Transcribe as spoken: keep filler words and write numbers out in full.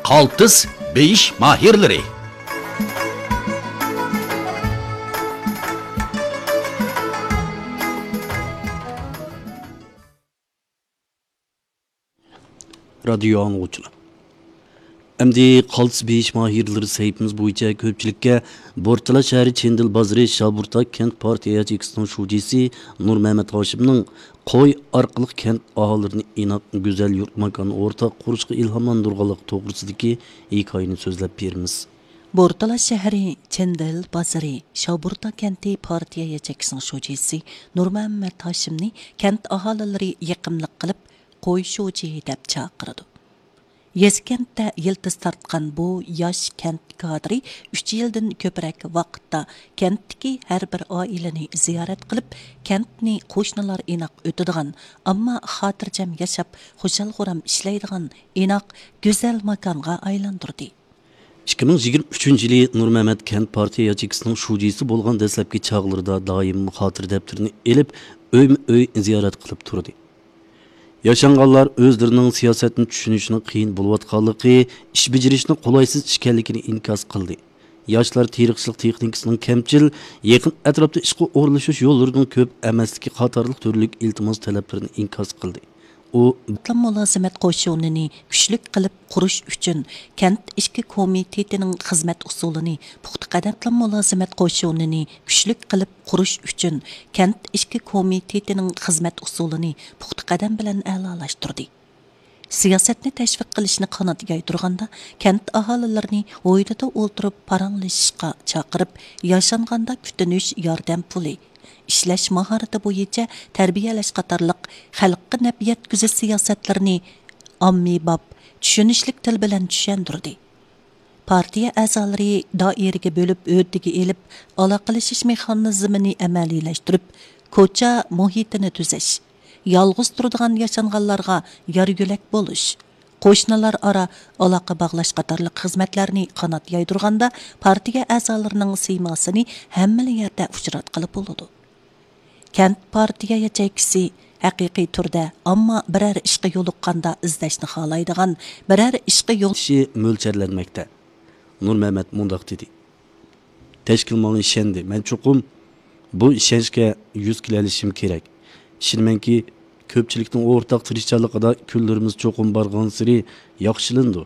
قالتىس بېيىش ماھىرلىرى. رادىيو ئاڭلىغۇچىلار، ئەمدى قالتىس بېيىش ماھىرلىرى سەھىپىمىز بويىچە كۆپچىلىككە بورتالا شەھىرى چېندىل بازىرى شابۇرتا كەنت پارتىيە ياچېيكىسىنىڭ شۇجىسى نۇرمەمەت ھاشىمنىڭ قوي ئارقىلىق كەنت ئاھالىلىرىنى ئىناق، گۈزەل يۇرت ماكان ئورتاق قۇرۇشقا ئىلھاملاندۇرغانلىقى توغرىسىدىكى ھېكايىنى سۆزلەپ بېرىمىز. بورتالا شەھىرى چېندىل بازىرى شابۇرتا كەنتى پارتىيە ياچېيكىسىنىڭ شۇجىسى نۇرمەمەت ھاشىمنى كەنت ئاھالىلىرى يېقىملىق قىلىپ، قوي شۇجى دەپ چاقىرىدۇ. يېزا كەنتتە يىلتىز تارتقان بۇ ياش كەنت كادىرى ئۈچ يىلدىن كۆپرەك ۋاقىتتا كەنتتىكى ھەر بىر ئائىلىنى زىيارەت قىلىپ، كەنتنى قوشنىلار ئىناق ئۆتىدىغان، ئەمما خاتىرجەم ياشاپ، خۇشال-خۇرام ئىشلەيدىغان ئىناق، گۈزەل ماكانغا ئايلاندۇردى. ئىككى مىڭ يىگىرمە ئۈچىنچى يىلى نۇرمەمەت كەنت پارتىيە ياچېيكىسىنىڭ شۇجىسى بولغان دەسلەپكى چاغلىرىدا دائىم خاتىرە دەپتىرىنى ئېلىپ، ئۆيمۇ ئۆي زىيارەت قىلىپ تۇردى. ياشانغانلار ئۆزلىرىنىڭ سىياسەتنى چۈشىنىشنىڭ قىيىن بولۇۋاتقانلىقى، ئىش بېجىرىشنىڭ قولايسىز ئىكەنلىكىنى ئىنكاس قىلدى. ياشلار تېرىقچىلىق تېخنىكىسىنىڭ كەمچىل، يېقىن ئەتراپتا ئىشقا ئورۇنلىشىش يوللىرىنىڭ كۆپ ئەمەسلىكى قاتارلىق تۈرلۈك ئىلتىماس تەلەپلىرىنى ئىنكاس قىلدى. ئۇ قاتلام مۇلازىمەت قوشۇنىنى كۈچلۈك قىلىپ قۇرۇش ئۈچۈن كەنت ئىچكى كومىتېتىنىڭ خىزمەت ئۇسۇلىنى پۇختا قەدەم، قاتلام مۇلازىمەت قوشۇنىنى كۈچلۈك قىلىپ قۇرۇش ئۈچۈن كەنت ئىچكى كومىتېتىنىڭ خىزمەت ئۇسۇلىنى پۇختا قەدەم بىلەن ئەلالاشتۇردى. سىياسەتنى تەشۋىق قىلىشنى قانات يايدۇرغاندا، كەنت ئاھالىلىرىنى ھويلىدا ئولتۇرۇپ پاراڭلىشىشقا چاقىرىپ، ياشانغاندا كۈتۈنۈش ياردەم پۇلى، ئىشلەش ماھارىتى بويىچە تەربىيەلەش قاتارلىق خەلققە نەپ يەتكۈزۈش سىياسەتلىرىنى ئاممىباب، چۈشىنىشلىك تىل بىلەن چۈشەندۈردى. پارتىيە ئەزالىرى دائىرىگە بۆلۈپ ھۆددىگە ئېلىپ، ئالاقىلىشىش مېخانىزمىنى ئەمەلىيلەشتۈرۈپ، كوچا مۇھىتىنى تۈزەش، يالغۇز تۇرىدىغان ياشانغانلارغا يار يۆلەك بولۇش، قوشنىلار ئارا ئالاقە باغلاش قاتارلىق خىزمەتلەرنى قانات يايدۇرغاندا، پارتىيە ئەزالىرىنىڭ سىيماسىنى ھەممىلا يەردە ئۇچراتقىلى بولىدۇ. كەنت پارتىيە ياچېيكىسى ھەقىقىي تۈردە، ئەمما بىرەر ئىشقا يولۇققاندا ئىزدەشنى خالايدىغان، بىرەر ئىشقا يول كىشى مۆلچەرلەنمەكتە. نۇرمەمەت مۇنداق دېدى: تەشكىل ماڭا ئىشەندى. مەن چوقۇم بۇ ئىشەنچكە يۈز كېلەلىشىم كېرەك. ئىشىنىمەنكى، كۆپچىلىكنىڭ ئورتاق تىرىشچانلىقىدا كۈنلىرىمىز چوقۇم بارغانسېرى ياخشىلىنىدۇ.